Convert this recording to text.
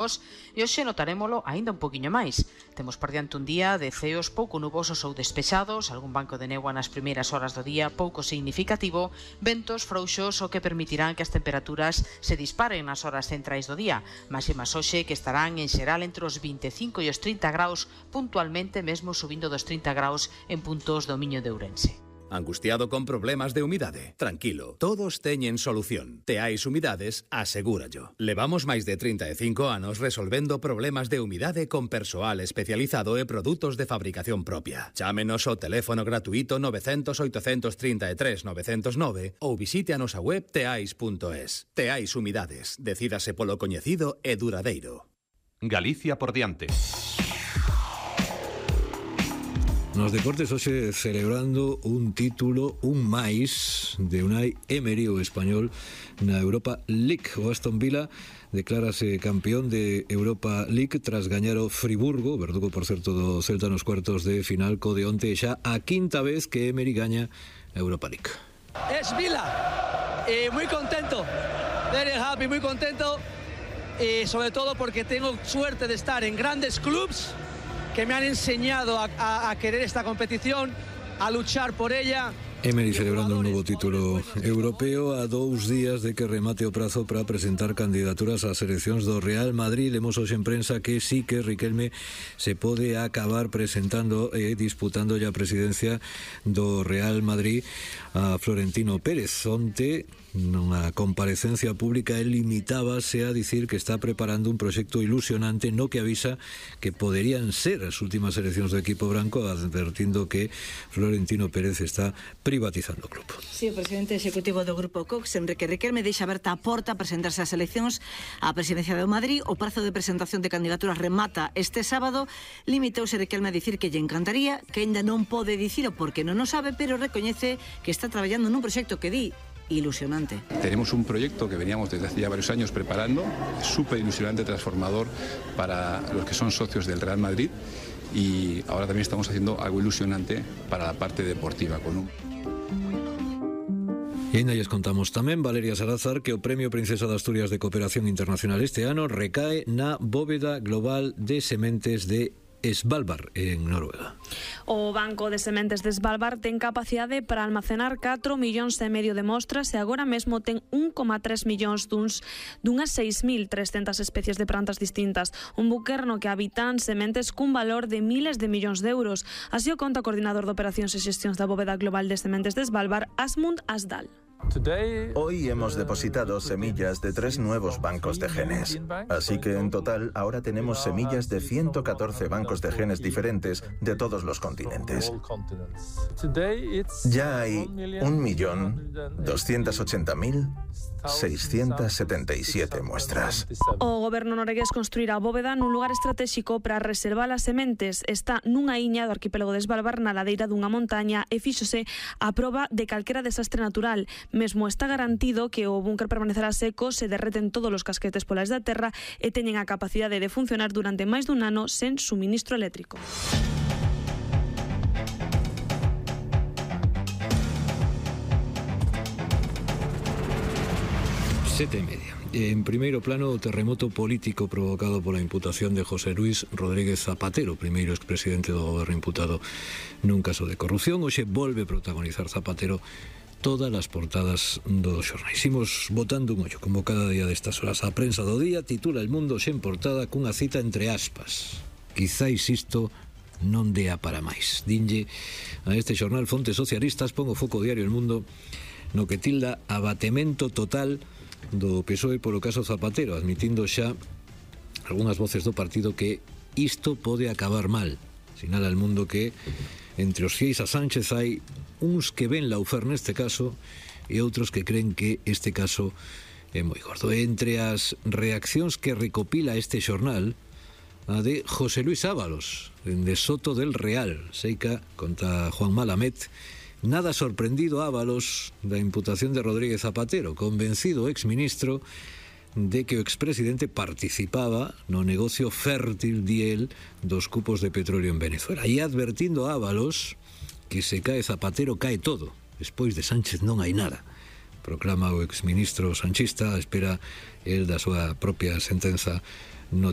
E hoxe notarémolo aínda un poquinho máis. Temos por diante un día de ceos pouco nubosos ou despexados, algún banco de néboa nas primeiras horas do día pouco significativo, ventos frouxos o que permitirán que as temperaturas se disparen nas horas centrais do día, máximas hoxe que estarán en xeral entre os 25 e os 30 graus, puntualmente mesmo subindo dos 30 graus en puntos do Miño de Ourense. Angustiado con problemas de humidade? Tranquilo, todos teñen solución. Teais Humidades asegúrallo. Levamos máis de 35 anos resolvendo problemas de humidade con persoal especializado e produtos de fabricación propia. Chámenos ao teléfono gratuito 900 833 909 ou visite a nosa web teais.es. Teais Humidades. Decídase polo coñecido e duradeiro. Galicia por diante. Nos deportes hoxe celebrando un título, un máis de Unai Emery, o español, na Europa League. O Aston Villa declárase campeón de Europa League tras gañar o Friburgo, verdugo por certo do Celta nos cuartos de final, co de onte xa a quinta vez que Emery gaña a Europa League. Es Villa, muy contento, very happy, muy contento, y sobre todo porque tengo suerte de estar en grandes clubs que me han enseñado a querer esta competición, a luchar por ella. Emery celebrando un novo título europeo a 2 días de que remate o prazo para presentar candidaturas ás seleccións do Real Madrid. Lemos hoxe en prensa que sí que Riquelme se pode acabar presentando e disputando a presidencia do Real Madrid a Florentino Pérez. Onte, nunha comparecencia pública, el limitábase a dicir que está preparando un proxecto ilusionante no que avisa que poderían ser as últimas eleccións do equipo branco, advertindo que Florentino Pérez está privatizando o club. Sí, o presidente executivo do Grupo Cox, Enrique Riquelme, deixa aberta a porta a presentarse ás eleccións á presidencia do Madrid. O prazo de presentación de candidaturas remata este sábado. Limitouse Riquelme a dicir que lle encantaría, que ainda non pode dicilo porque non o sabe, pero recoñece que está traballando nun proxecto que di ilusionante. Tenemos un proyecto que veníamos desde hace ya varios años preparando, súper ilusionante, transformador para los que son socios del Real Madrid, y ahora también estamos haciendo algo ilusionante para la parte deportiva con un... E ainda lles contamos tamén, Valeria Salazar, que o Premio Princesa de Asturias de Cooperación Internacional este ano recae na bóveda global de sementes de Svalbard, en Noruega. O Banco de Sementes de Svalbard ten capacidade para almacenar 4,5 millóns de mostras e agora mesmo ten 1,3 millóns dunhas 6.300 especies de plantas distintas. Un buque no que habitan sementes cun valor de miles de millóns de euros. Así o conta o coordinador de operacións e xestións da bóveda global de sementes de Svalbard, Asmund Asdal. Hoy hemos depositado semillas de 3 nuevos bancos de genes. Así que en total ahora tenemos semillas de 114 bancos de genes diferentes de todos los continentes. Ya hay 1.280.677 muestras. O goberno noruegués construirá a bóveda nun lugar estratégico para reservar as sementes. Está nunha iña do arquipélago de Svalbard, na ladeira dunha montaña, e fíxose a proba de calquera desastre natural. Mesmo está garantido que o búnker permanecerá seco se derreten todos os casquetes polas da terra e teñen a capacidade de funcionar durante máis dun ano sen suministro eléctrico. Sete e media. En primeiro plano, o terremoto político provocado pola imputación de José Luis Rodríguez Zapatero, primeiro expresidente do goberno imputado nun caso de corrupción. Hoxe volve protagonizar Zapatero todas as portadas dos xornais. Imos botando un ollo, como cada día destas horas. A prensa do día titula El Mundo sen portada cunha cita entre aspas: quizáis isto non dea para máis. Dinlle a este xornal fontes socialistas, pon o foco diario El Mundo no que tilda abatemento total do PSOE polo caso Zapatero, admitindo xa algunhas voces do partido que isto pode acabar mal. Sinala El Mundo que entre os fieis a Sánchez hai uns que ven laufer neste caso e outros que creen que este caso é moi gordo. Entre as reaccións que recopila este xornal, a de José Luis Ábalos, de Soto del Real. Seica, conta Juan Malamet, nada sorprendido Ábalos da imputación de Rodríguez Zapatero, convencido exministro de que o expresidente participaba no negocio fértil, diel, dos cupos de petróleo en Venezuela. E advertindo a Ábalos que se cae Zapatero cae todo, despois de Sánchez non hai nada. Proclama o exministro sanchista, espera el da súa propia sentenza no